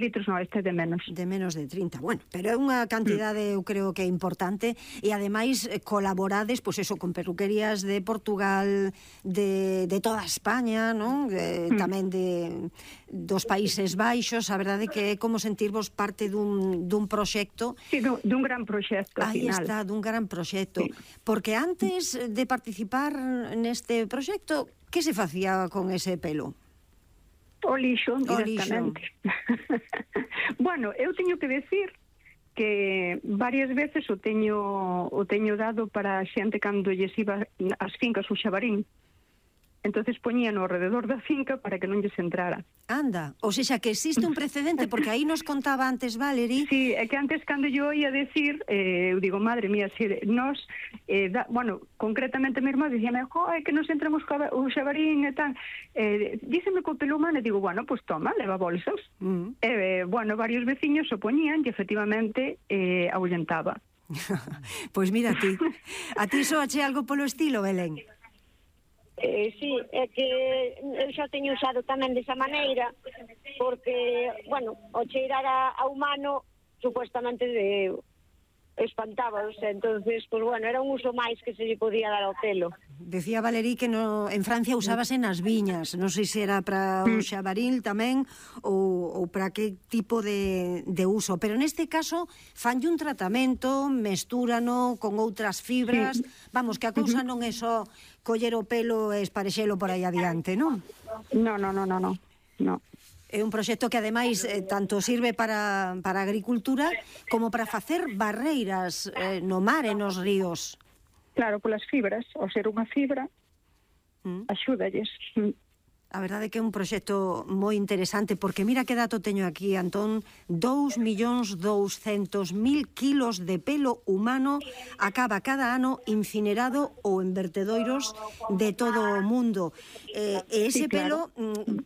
litros, non, este é de menos. De menos de 30, bueno, pero é unha cantidade, eu creo que é importante, e ademais colaborades, pois eso, con peluquerías de Portugal, de toda España, non? Tamén dos Países Baixos, a verdade que é como sentirvos parte dun proxecto. Sí, dun gran proxecto, ao final. Aí está, dun gran proxecto. Porque antes de participar neste proxecto, que se facía con ese pelo? O lixo, directamente. Bueno, eu teño que decir que varias veces o teño dado para a xente cando lles iba as fincas o xabarín. Entonces poñían ao rededor da finca para que non lles entrara. Anda, ou seja, que existe un precedente, porque aí nos contaba antes Valerie. Sí, é que antes cando yo ia decir, eu digo, madre mía, si nos, bueno, concretamente mi irmá dicíame, é que nos entramos o xabarín e tal, díceme co pelo humano, e digo, bueno, pues toma, leva bolsas. Bueno, varios veciños o poñían e efectivamente ahuyentaba. Pois mira a ti soache algo polo estilo, Belén? Sí, é que eu xa teño usado tamén desa maneira, porque, bueno, o cheirar a humano supuestamente espantábaos, entonces, pues bueno, era un uso máis que se lle podía dar ao pelo. Decía Valerie que en Francia usábase nas viñas, non sei se era para o xabaril tamén ou para que tipo de uso, pero neste caso fanlle un tratamento, mestúrano con outras fibras, vamos, que a cousa non é só coller o pelo e esparexelo por aí adiante, non? No. É un proxecto que ademais tanto sirve para a agricultura como para facer barreiras no mar e nos ríos. Claro, polas fibras, ao ser unha fibra, axúdalles. A verdade é que é un proxecto moi interesante, porque mira que dato teño aquí, Antón, 2.200.000 kilos de pelo humano acaba cada ano incinerado ou en vertedoiros de todo o mundo. E ese pelo,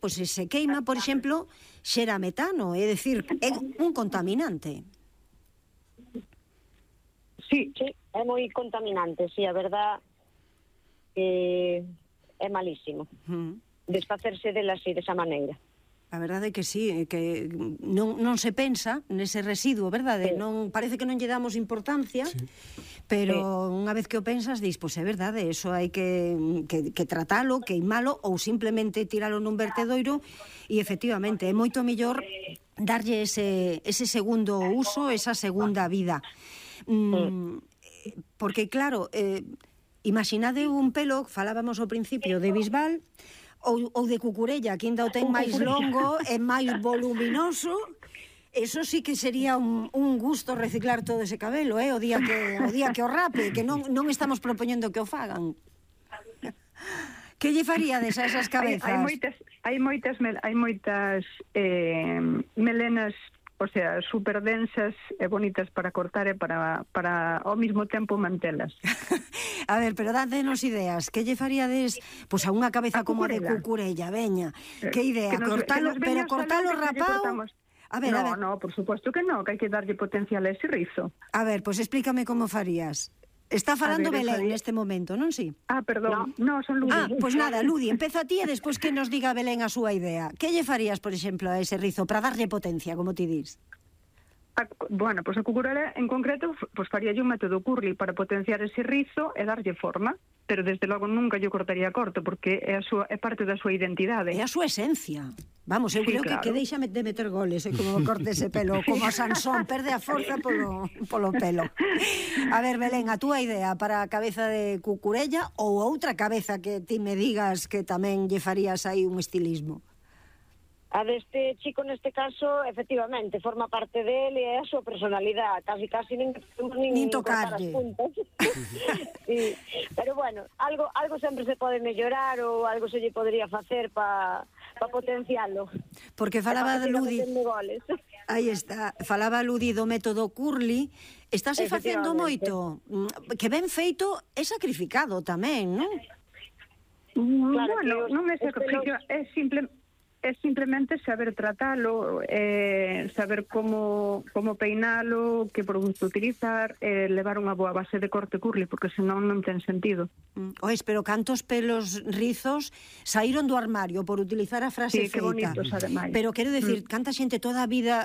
pois se queima, por exemplo, xera metano, é dicir, é un contaminante. Sí, é moi contaminante, sí, a verdad é malísimo. Desfacerse dela así, desa maneira. A verdade é que sí, que non se pensa nese residuo, verdade? Non, parece que non lle damos importancia, pero unha vez que o pensas, dis, pois é verdade, eso hai que tratalo, queimalo ou simplemente tiralo nun vertedoiro e efectivamente é moito mellor darlle ese segundo uso, esa segunda vida. Porque claro, imaginade un pelo, falábamos ao principio de bisbal ou de cucurella, que ainda o ten máis longo e máis voluminoso. Eso sí que sería un gusto reciclar todo ese cabelo, o día que o rape, que non estamos propoñendo que o fagan. Que lle faríades a esas cabezas? Hai moitas melenas, o sea, super densas e bonitas para cortar e para ao mesmo tempo mantelas. A ver, pero dádenos ideas. Que lle faríades pois a unha cabeza como a de cucurella, veña? Que idea? Cortalo rapao? A ver. No, por suposto que no, que hai que darlle potencial a ese rizo. A ver, pois explícame como farías. Está falando Belén neste momento, non si? Perdón, no, son Ludi. Pois nada, Ludi, empeza a ti e despois que nos diga Belén a súa idea. Que lle farías, por exemplo, a ese rizo para darlle potencia, como ti dis? Bueno, pois a cucurella en concreto faríalle un método curly para potenciar ese rizo e darlle forma, pero desde logo nunca lle cortaría corto, porque é parte da súa identidade. É a súa esencia. Vamos, eu creo que deixa de meter goles, como corte ese pelo, como a Sansón, perde a forza polo pelo. A ver, Belén, a túa idea para a cabeza de cucurella ou outra cabeza que ti me digas que tamén lle farías aí un estilismo? A deste chico, neste caso, efectivamente, forma parte dele e a súa personalidade, casi nin tocarlle. Sí. Pero bueno, algo sempre se pode mellorar ou algo se lle podría facer para potencialo. Porque falaba de Ludi, aí está, falaba Ludi do método curly, estáse facendo moito, que ben feito é sacrificado tamén, non? Bueno, non é sacrificio, é simplemente saber tratalo, saber como peinalo, que produto utilizar, levar unha boa base de corte curly, porque senón non ten sentido. Ois, pero cantos pelos rizos saíron do armario por utilizar a frase feita. Sí, que bonitos, ademais. Pero quero decir, canta xente toda a vida